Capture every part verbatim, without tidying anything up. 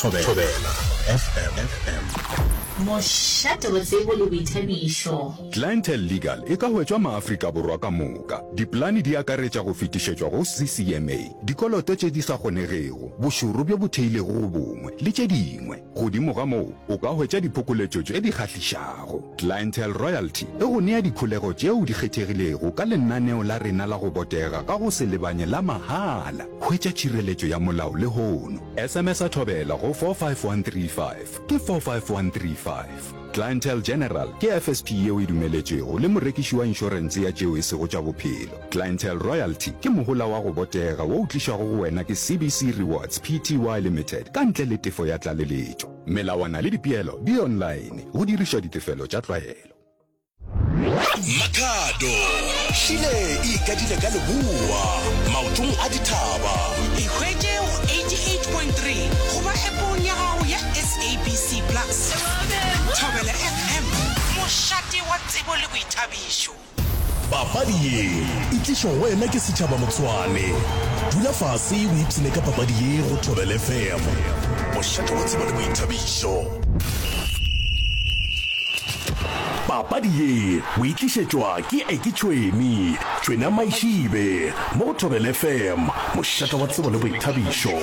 Thobela F M. Mošate wa tsebo le boithabišo. Clientele Legal e ka hwetšwa maAfrika Borwa ka moka. Dipolane di akaretša go fetišetšwa go C C M A, dikoloto tše di sa kgonegego, bošoro bjo bo theilego go bongwe, le tše dingwe. Godimo ga moo, o ka hwetša diphokoletšo tše di kgahlišago. Clientele Royalty e go nea dikholego tšeo di kgethegilego ka lenaneo la rena la go botega ka go se lebanye la mahala. Hwetša tšhireletšo ya molao lehono. S M S a Thobela go four five one three five, ke four five one three five. Clientele General ke F S P yeo e dumeletšwego le morekiši wa inšorense ya tšeo e sego tša bophelo. Clientele Royalty ke mohola wa go botega wo o tlišwago go wena ke C B C Rewards P T Y Limited ka ntle le tefo ya tlaleletšo. Melawana le dipeelo di online go dirišwa ditefelo tša tlwaelo. Makhado šile e ikadile ka leboa maotong a dithaba. Ikhwetše go eighty-eight point three goba appong ya gago ya S A B C Plus. Thobela F M, mošate wa tsebo le boithabišo. Papadi ye e tlišwa go wena ke setšhaba Motshwane. Dula fase o ipshine ka papadi ye go Thobela F M, mošate wa tsebo le boithabišo. Papadi ye o e tlišetšwa ke Eke Tšhweni Tšwena Maišibe mo go Thobela F M, mošate wa tsebo le boithabišo.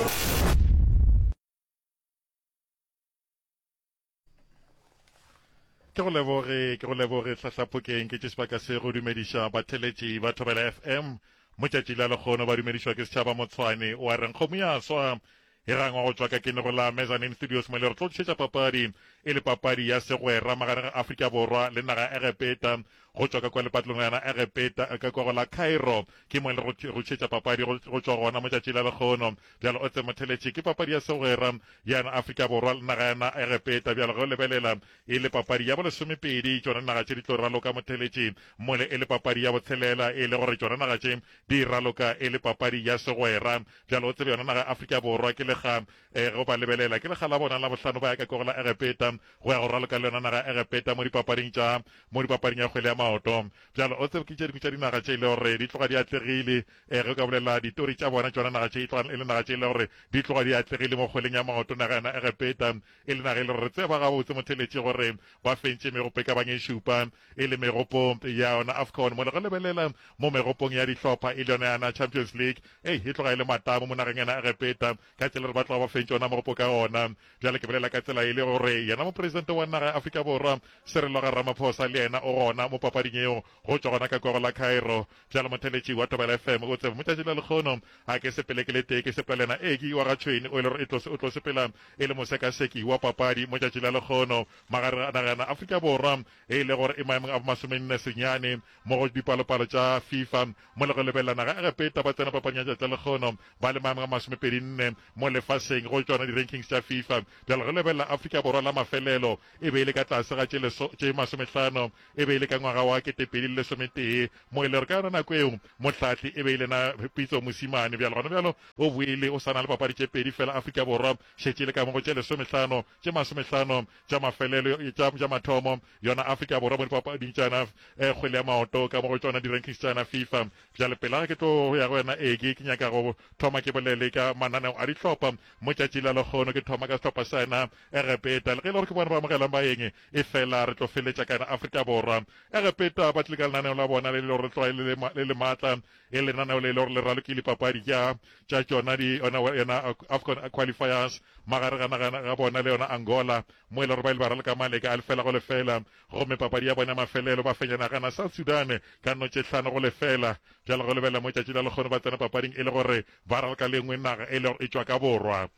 Ke go leboge, ke go leboge hlahlapokeng. Ke tše sebaka se go dumediša batheletši ba Thobela F M motšatši la lekgono. Ba dumedišwa ke setšhaba Motshwane wa reng kgomo ya swa e gangwa go tšwa ka kenego la Mezzanine Studios, mo le re tlo tlišetša papadi e le papadi ya segwera magareng ga Afrika Borwa le naga ya Egepeta go tšwa ka kwa lepatlong la yona Egepeta ka kwa go la Cairo. Ke mo le go tlišetša papadi go tšwa gona motšatši la lekgono. Bjalo o tse motheletši, ke papadi ya segwera ya na Afrika Borwa le naga yana Egepeta. Bjalo ge o lebelela e le papadi ya bolesomepedi, tšona naga tše di tlo raloka motheletši, mole e le papadi ya botshelela, e le gore tšona naga tše di raloka e le papadi ya segwera. Bjalo o tsebe yona naga ya Afrika Borwa ke lega eh, ge ba lebelela ke lega la bona la bohlano ba ya ka kogo la Egepeta go ya go raloka le yona naga ya Egepeta mo dipapading tša mo dipapading ya kgwele ya maoto. Bjalo o tsebe ke tše dingwe tša dinaga tše e le gore di tloga di atlegile. um ge o ka bolela ditori tša bona, tšona naga tše e tloga e le naga tše e le gore di tloga di atlegile mo kgweleng ya maoto. Naga yona Egepeta e le naga e le gore re tseba gabotse motheletši gore ba fentše megopo e ka bang e šupa, e le megopo ya yona AFCON, mo le go lebelela mo megopong ya dihlopha e le yona yana Champions League. Ei, e tloga e le matamo mo nageng yana Egepeta ka tsela gore ba tloga ba fentše ona mogopo ka ona. Bjale ke bolela ka tsela e le gore yena mopresidente wa naga ya Afrika Borwa Cyril Ramaphosa le yena o gona mo papading eo go tšwa gona ka kwa go la Cairo. Bjale motheletši wa Thobela F M, o tsebe motšatši la lekgono a ke sepele ke le tee, ke sepela lena Eki wa ga Tšhweni o e le gore e tlo sepela e le mosekaseki wa papadi motšatši la lekgono magareng a naga yana Afrika Borwa e le gore e maemong a bomasomenne senyane mo go dipalopalo tša FIFA, mo le go lebelela naga Egepeta ba tsena papading ya tšatši la lekgono ba le maemong a masomepedi nne mo lefaseng go tšona di-rankings tša FIFA. Bjale go lebelela Afrika Borwa, la mafelelo e be e le ka tlase ga tše masomehlano e be e le ka ngwaga wa ketepedi le lesometee, mo e le gore ka yona nako eo mohlahli e be e le na Pitso Mosimane. Bjale gona bjalo o boile o sa na le papadi tše pedi fela. Afrika Borwa šetše le ka mo go tše lesomehlano, tše masomehlano tša mafelelo tša mathomo yona Afrika Borwa mo dipapading tšana eh, kgwele ya maoto ka mo go tšona di-rankings tšana FIFA. Bjale pela ke tlo ya go wena Eke, ke nyaka go thoma ke bolele ka mananeo a dihlopha mo tšatši la lekgono. Ke thoma ka sehlopha sa yena Egepeta, le ge e le gore ke bona ba amogelang baeng, e fela re tlo feletša ka yena Afrika Borwa. Egepeta ba tlile ka lenaneo la bona le le gore tloga le le maatla, e lenaneo le le gore le ralokile papadi tša tša tšona di yona yona AFCON qualifiers magare ga naga ga bona le yona Angola, mo e le gore ba ile ba raloka maleka a lefela go lefela, gomme papadi ya bona mafelelo ba fenya nagana South Sudan ka no tše hlano go lefela. Bjale go lebelela mo tšatši la lekgono ba tsena papading e le gore ba raloka le nngwe naga e le gore e tšwa ka borwa.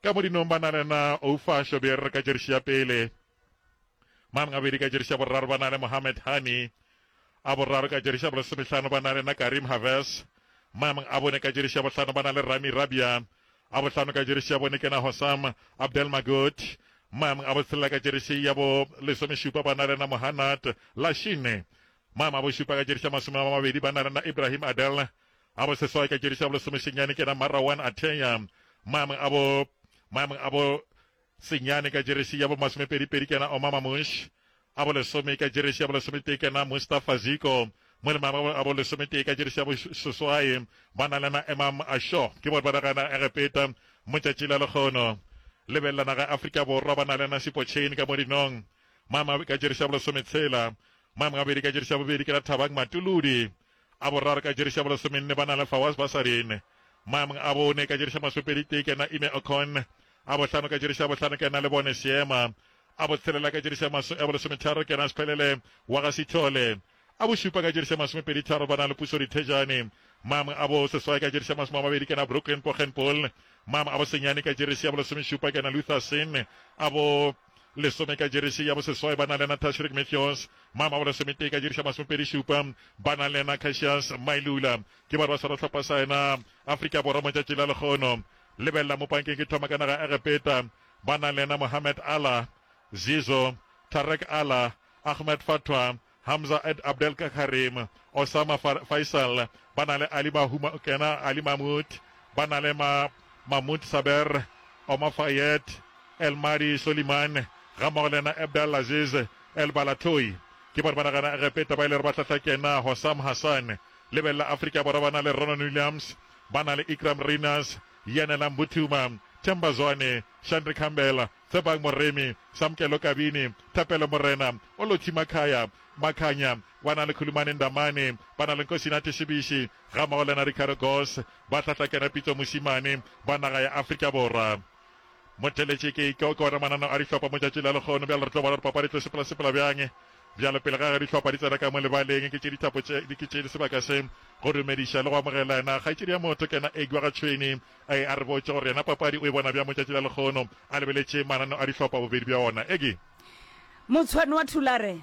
Ka modinong ba na le na Oufa Shobeer ka jeresi ya pele, mang gabedi ka jeresi ya boraro ba na le Mohamed Hani, a boraro ka jeresi ya bolesomehlano ba na le na Karim Haves, maemong a bone ka jeresi ya bohlano ba na le Rami Rabia, a bohlano ka jeresi ya bone ke na Hossam Abdelmagoud, maemong a botshelela ka jeresi ya bo lesomešupa ba na le na Mohanad Lashine, maemo a bošupa ka jeresi ya masome a mabedi ba na le na Ibrahim Adel, a boseswai ka jeresi ya bolesomesenyane ke na Marawan Ateya, maemong a bo maemong a bo senyane ka jeresi ya bo masomepedipedi ke na Omar Mamush, a bolesome ka jeresi ya bolesometee ke na Mustafa Ziko, mo le maemo a bolesometee ka jeresi ya boseswai ba na le na Emam Asho. Ke bone ba nagana Egepeta motšatši la lekgono. Lebelela naga ya Afrika Borwa, ba na le yena Sipho Chaine ka mo dinong. Maemo a ka jeresi ya bolesometshela. Maemo a bobedi ka jeresi ya bobedi ke la Thabang Matuludi. A boraro ka jeresi ya bolesomenne ba na le Fawaz Basadien. Maemong a bone ka jeresi ya masomepedi tee ke yena Ime Okon. A bohlano ka jeresi ya bohlano ke yena Lebone Seema. A botshelela ka jeresi ya maso ya bolesometharo ke yena Sphelele wa ga Sithole. A bošupa ka jeresi ya masomepedi tharo ba na le Puso Dithejane. Maemong a bo seswai ka jeresi ya masome a mabedi ke yena Brooklyn Poggenpoel. Maemong a bosenyane ka jeresi ya bolesomešupa ke yena Luther Singh. A bo lesome ka jeresi ya boseswai ba na le yena Tashreeq Matthews. Maemo a bolesometee ka jeresi ya masomepedi šupa ba na le yena Cassius Mailula. Ke ba re ba swara sehlopha sa yena Afrika Borwa mo tšatši la lekgono. Lebelela mo pankeng ke thoma ka naga ya Egepeta ba na le yena Mohamed Alaa, Zizo, Tarek Alaa, Ahmed Fatwa, Hamza Ed Abdel Karim, Osama Faisal, ba na le Ali Mahuma kena Ali Mahmoud, ba na le ma Mahmoud Saber, Omar Fayed, El Mahdi Soliman, gammogo le yena Abdel Aziz El Balatoi. Ke bone ba nagana Egepeta ba ile re ba hlahla kena Hossam Hassan. Lebelela Afrika Borwa ba na le Ronan Williams, ba na le Iqraam Rayners, Yanela Mbuthuma, Themba Zwane, Shandri Campbell, Tshepang Moremi, Samkelo Kabini, Thapelo Morena, Olothi Makhaya, Makhanya, ba na le Khulumani Ndamane, ba na le Nkosinathi Shibishi, gammogo le yena Ricardo Goss, ba hlahla kena Pitso Mosimane ba naga ya Afrika Borwa. Motheletše ke ke ke ona mananeo a dihlopha mo tšatši la lekgono. Bjale re tlo bona gore papadi e tlo sepela sepela bjang. Bjalo pele ga ge dihlopha di tsena ka mo lebaleng, ke tše dithapo tše ke tše sebaka se go dumediša le go amogela yena kgaetšedi ya motho ke yena Eggy wa ga Tšhweni. A a re botše gore yena papadi o e bona bjang mo tšatši la lekgono a lebeletše mananeo a dihlopha bobedi bja ona. Eggy. Motshwane wa Thulare.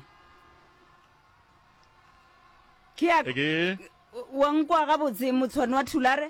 Ke a Eggy. Wa nkwa gabotse Motshwane wa Thulare?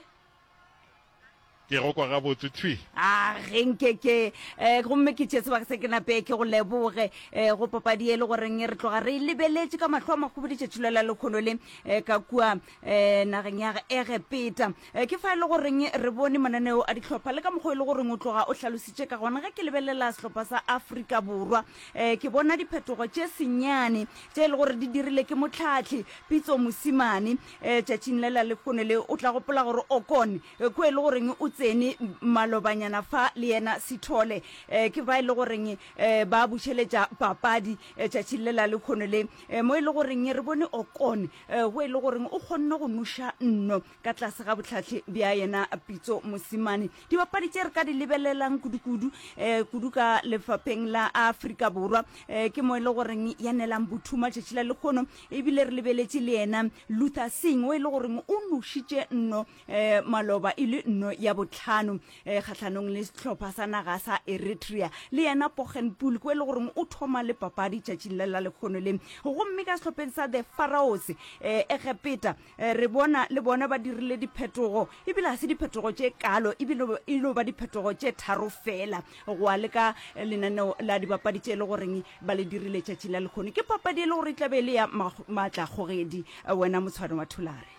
Ke go kwa gabotse thwi. A ge nke ke eh, gomme ke tšee sebaka se ke nape ke go leboge eh, go papadi e le goreng re tloga re e lebeletše ka mahlo a makhubedu tšatši la lekgono le eh, ka kua eh, nageng ya Egepeta. Eh, ke fa e le goreng re bone mananeo a dihlopha le ka mokgwa e le goreng o tloga o hlalositše ka gona. Ge ke lebelela sehlopha sa Afrika Borwa eh, ke bona diphetogo tše senyane tše e le gore di dirile ke mohlahli Pitso Mosimane eh, tšatšing le la lekgono le. O tla gopola gore Okon eh, ko e le goreng o tsene malobanyana fa le yena Sithole eh, ke ba e le goreng eh, ba bušeletša papadi eh, tšatšing le la lekgono le eh, mo e le goreng re bone Okon eh, go e le goreng o kgonne go noša nno ka tlase ga bohlahli bja yena Pitso Mosimane. Dibapadi tše re ka di lebelelang kudu-kudu eh, kudu ka lefapheng la Afrika Borwa eh, ke mo e le goreng ya nelang Buthuma tšatši la lekgono, ebile re lebeletše le yena Luther Singh o e le goreng o nošitše nno eh, maloba e le nno ya botlhano eh, kgahlanong le sehlopha sa naga sa Eritrea. Le yena Poggenpoel ko e le goreng o thoma le papadi tšatšing le la lekgono le. Gomme ka sehlopheng sa The Pharaohs eh, Egepeta eh, re bona le bona ba dirile diphetogo, ebile ga se diphetogo tše kalo, ebile e no ba diphetogo tše tharo fela go a le ka lenaneo la dibapadi tše e le goreng ba le dirile tšatši la lekgono. Ke papadi e le gore e tla be e le ya maatlakgogedi wena Motshwane wa Thulare.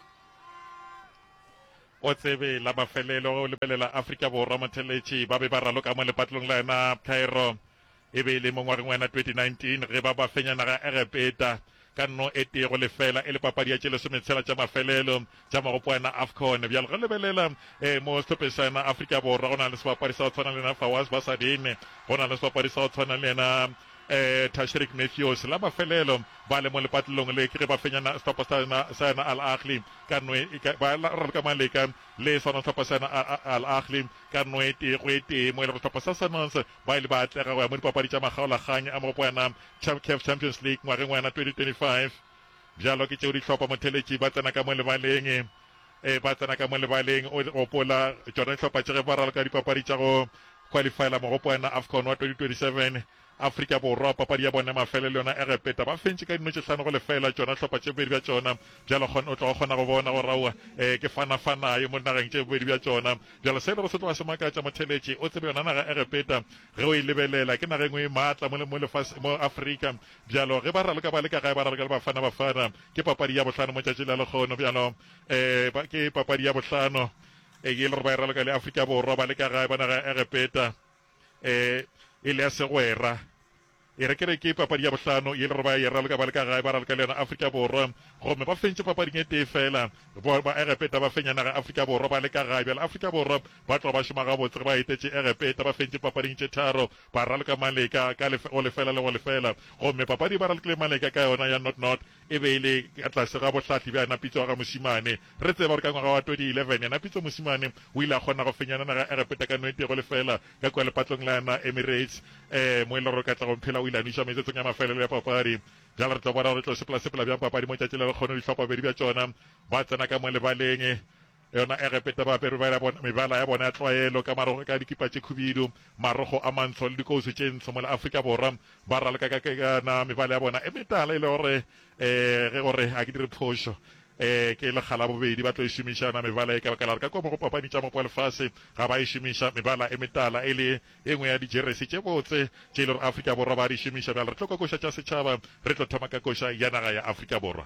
O tsebe la mafelelo ge o lebelela Afrika Borwa motheletši ba be ba raloka mo lepatlelong la yona Cairo e be e le mo ngwageng wa yona twenty nineteen ge ba ba fenya naga ya Egepeta ka nno e tee go lefela e le papadi ya tše lesometshela tša mafelelo tša magopo a yona AFCON. Bjalo ge lebelela eh, mo sehlopheng sa yona Afrika Borwa go na le sebapadi sa go tshwana le yena Fawaz Basadien, go na le sebapadi sa go tshwana le yena eh, Tashreeq Matthews. La mafelelo ba le mo lepatlelong le ke ge ba fenya sehlopha sa yona sa yona Al Ahly ka nno e, ka, ba raloka maleka le sona sehlopha sa yona Al Ahly ka nno e tee go e tee, mo e lego sehlopha sa Sundowns ba ile ba atlega go ya mo dipapadi tša makgaolakgang a mogopo wa yona CAF Champions League ngwageng wa yona twenty twenty-five. Bjalo ke tšeo dihlopha motheletši ba tsena ka mo lebaleng e ba tsena ka mo lebaleng. O gopola tšona dihlopha tše ge ba raloka dipapadi tša go qualifyela mogopo wa yona AFCON wa twenty twenty-seven. Afrika Borwa papadi ya bona mafelelo yona Egepeta ba fentše ka dino tše hlano go lefela tšona hlopha tše bobedi bja tšona. Bjalo kgon o tloga kgona go bona gore aowa eh, ke fana-fanayo mo dinageng tše bobedi bja tšona. Bjalo se e lego se tloga se makatša motheletši o tsebe yona naga Egepeta ge o e lebelela ke naga e nngwe e maatla mo, mo lefase mo Afrika. Bjalo ge ba raloka ba le ka gae ba raloka le Bafana Bafana ke papadi ya bohlano mo tšatši la lekgono. Bjalo eh, ba, ke papadi ya bohlano eh, e le gore ba e raloka le Afrika Borwa ba le ka gae ba naga ya Egepeta eh, e le ya segwera E re ke re ke papadi ya bohlano ye le gore ba e raloka ba le ka gae, ba raloka le yona Afrika Borwa, gomme ba fentše papading e tee fela. Ba, ba Egepeta ba fenya naga Afrika Borwa ba le ka gae. Bjale Afrika Borwa ba tloga ba šoma gabotse ge ba etetše Egepeta, ba fentše papading tše tharo, ba raloka Maleka ka lefe, go lefela le go lefela. Gomme papadi ba ralokile Maleka ka yona ya not-not e be e le ka tlase ga bohlahli bja yena Pitso wa ga Mosimane. Re tseba gore ka ngwaga wa twenty eleven yena Pitso Mosimane o ile a kgona go fenya naga Egepeta ka no e tee go lefela ka kua lepatlong la yona Emirates, um mo e le gore Katlego Mphela o ile a nweša metsotsong ya mafelelo ya papadi. Bjale re tlo bona gore e tlo sepela-sepela bjang papadi mo tšatši le lekgono. Dihlopha bobedi bja tšona ba tsena ka mo lebaleng. Yona Egepeta ba apere mebala ya bona, mebala ya bona ya tlwaelo ka marogo, ka dikipa tše khubidu, marogo a mantsho le dikousu tše ntsho, mola Afrika Borwa ba raloka ka, ka, ka na mebala ya bona e metala e le gore um ge gore a ke dire phošo um ke lekga la bobedi ba tlo e šomiša yona mebala e, ka baka la gore ka kua mo go papadi tša mopo wa lefase ga ba e šomiša mebala e metala e le e nngwe ya dijeresi tše botse tše e le gore Afrika Borwa ba di šomiša. Bjale re tlo kwa koša tša setšhaba, re tlo thoma ka koša ya naga ya Afrika Borwa.